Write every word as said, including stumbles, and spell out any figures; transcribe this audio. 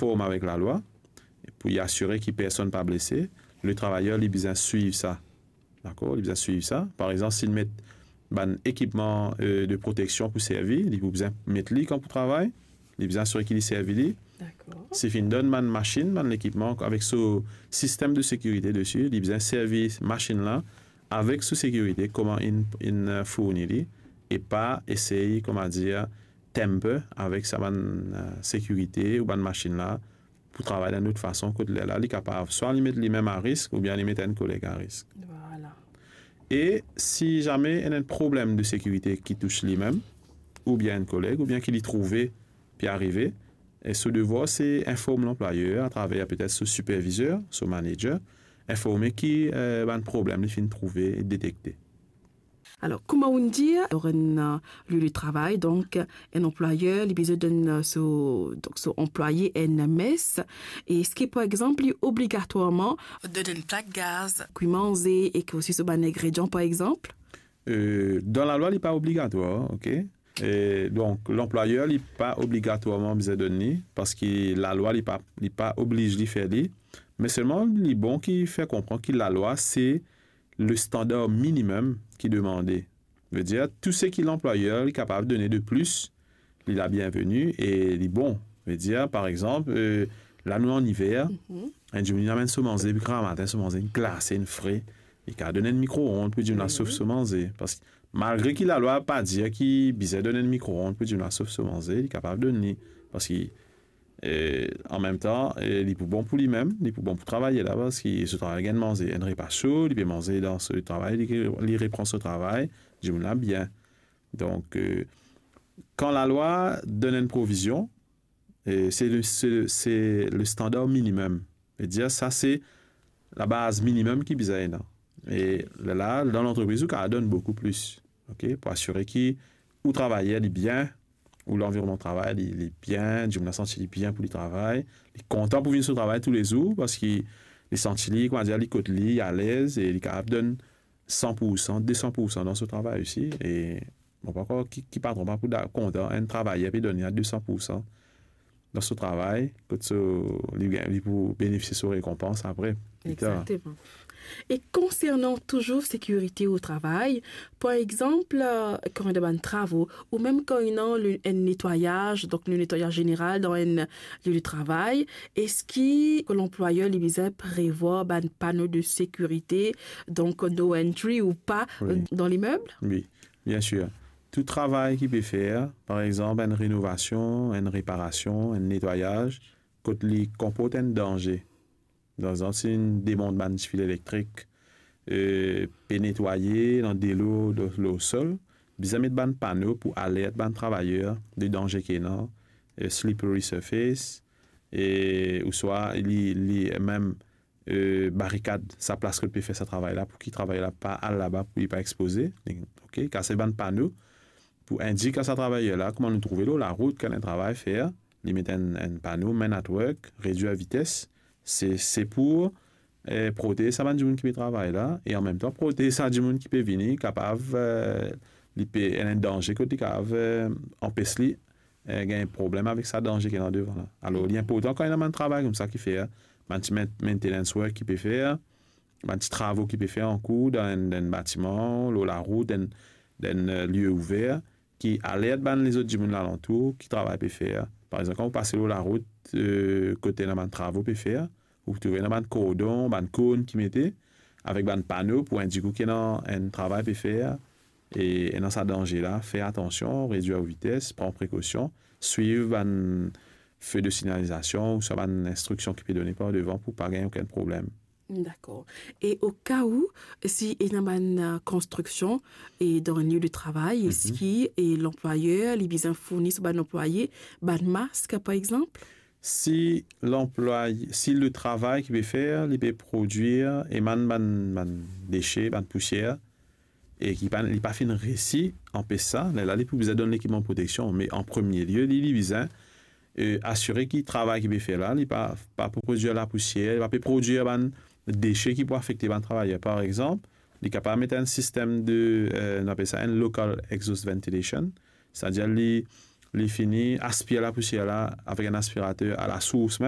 konform avek lalwa, pou li asire ki personn pa blese, le travayer li bizin swiv sa. Dakor? Li bizin swiv sa. Par exanp, si li met bann ekipman, euh, de proteksion pou servi, li pou bizin met li kan pou travay, li bizin asire ki li servi li. Dakor. Si finn donn bann masinn, bann lekipman avek so sistem de sekirite desi, li bizin servi masinn la avek so sekirite, kouma inn, inn, euh, fourni li, e pa esey, kouma dir, tamper avek sa bann, euh, sekirite ou bann masinn la pou travay dan lot fason, kot lerla li kapav swa li met limem a risk oubien li met enn koleg a risk. Vwala. E si zame ena enn problem de sekirite ki tous limem, oubien enn koleg, oubien ki li trouve pe arive, e so devwar se inform lanplwayer atraver petet so sipervizer, so manager, informe ki, eh, bann problem li finn trouve e detekte. Alor, kouma ou'nn dir, lor enn, eh, lie de travay, donk, enn anplwayer, li bizin donn, eh, so, donk, so anplwaye enn mes. E eski, par exanp, li obligatwarman donn enn plak gaz, kwi manze, e ki osi so bann ingredian, par exanp? Eh, dan lalwa, li pa obligatwar, ok? E donk, lanplwayer, li pa obligatwarman bizin donn li, parski lalwa, li pa, li pa obliz li fer li. Me selman, li bon ki fer konpran ki lalwa, se le standar minimem ki demande. Vedir, tou seki lanplwayer li kapav done de plis, li la bienveni e li bon. Vedir, par exanp, eh, la nou an iver, enn dimoun inn amenn so manze, depi gramatin so manze inn glase, inn fre, li kapav donn enn mikro-ond pou dimoun la sof so manze. Parski malgre ki lalwa pa dir ki bizin donn enn mikro-ond pou dimoun la sof so manze, li kapav donn li. Parski, eh, an mem tan, eh, li pou bon pou limem, li pou bon pou travayer la, parski so travay gagn manze, enn repa so, li pe manze dan so travay, li, li repran so travay, dimoun la bien. Donk, eh, kan lalwa donn enn provizion, eh, se le, se le, se le standar minimem. Vedir, sa se labaz minimem ki bizin ena. E la, dan lantrepriz, ou kapav donn boukou plis, ok, pou asire ki ou travayer li bien, ou lanvironnman travay li, li bien, dimoun la santi li bien pou li travay, li kontan pou vinn so travay toulezour, parski li santi li, koumadir, li kot li, li alez, e li kapav donn san pou san, de san pou san dan so travay osi. E mo pa krwar ki, ki patron pa pou da-, kontan enn travayer pe donn li a de san pou san dan so travay, kot so, li gagn, li pou benefisie so rekonpans apre, pli tar. Exactement. E konsernan touzour sekirite o travay, par exanp, eh, kan ena bann travo, ou mem kan ena le, enn netwayaz, donk le netwayaz zeneral dan enn lie de travay, eski lanplwayer li bizin prevwar bann pano de sekirite, donk no entry ou pa, wi, eh, dan limeb? Wi, biensir. Tou travay ki pe fer, par exanp, enn renovasion, enn reparasion, enn netwayaz, kot li konport enn danze. Par exanp, si inn demont bann tifil elektrik, eh, pe netwaye, ena delo lor, lor sol, bizin met bann pano pou alert bann travayer de danze ki ena, eh, slippery surface, e ouswa li, li mem, eh, barikad sa plas kot pe fer sa travay la, pou ki travayer la pa al laba, pou li pa expoze. Ok, kas bann pano pou indik a sa travayer la, kouma nou trouve lor larout, kan enn travay fer, li met enn, enn pano, men at work, redwir vites. Se, se pou, eh, protez sa bann dimoun ki pe travay la, e an mem tan protez sa dimoun ki pe vini, kapav, eh, li pe ena enn danze kot li kapav, eh, anpes li, eh, gagn problem avek sa danze ki ena devan la. Alor, li inportan kan ena bann travay koumsa ki fer, bann ti main-, maintenance work ki pe fer, bann ti travo ki pe fer ankour dan enn, dan enn batiman, lor larout, dan enn, dan enn, eh, lie ouver, ki alert bann lezot dimoun lalantour ki travay pe fer. Par exanp, kan ou pase lor larout, eh, kot ena bann travo pe fer, ou trouve ena bann kordon, bann korn ki mete, avek bann pano pou indik ou ki ena enn travay pe fer, e ena sa danze la, fer atansion, redwir ou vites, pran prekosion, swiv bann fe de sinyalizasion ouswa bann instriksion ki pe done par devan pou pa gagn okenn problem. Dakor. E o ka ou, si ena bann, eh, konstriksion e dan enn lie de travay, mhm, eski, eh, lanplwayer li bizin fourni so bann anplwaye bann mask, par exanp? Si lanplwaye, si le travay ki pe fer, li pe prodwir e bann, bann, bann dese, bann pousier, e ki pa, li pa finn resi anpes sa, lerla li pou bizin donn lekipman proteksion. Me an premie lie, li, li bizin, eh, asire ki travay ki pe fer la, li pa, pa prodwir lapousier, li pa pe prodwir bann dese ki pou afekte bann travayer. Par exanp, li kapav met enn sistem de, eh, nou apel sa enn local exhaust ventilation, setadir li, li fini aspir lapousier la avek enn aspirater a lasours mem,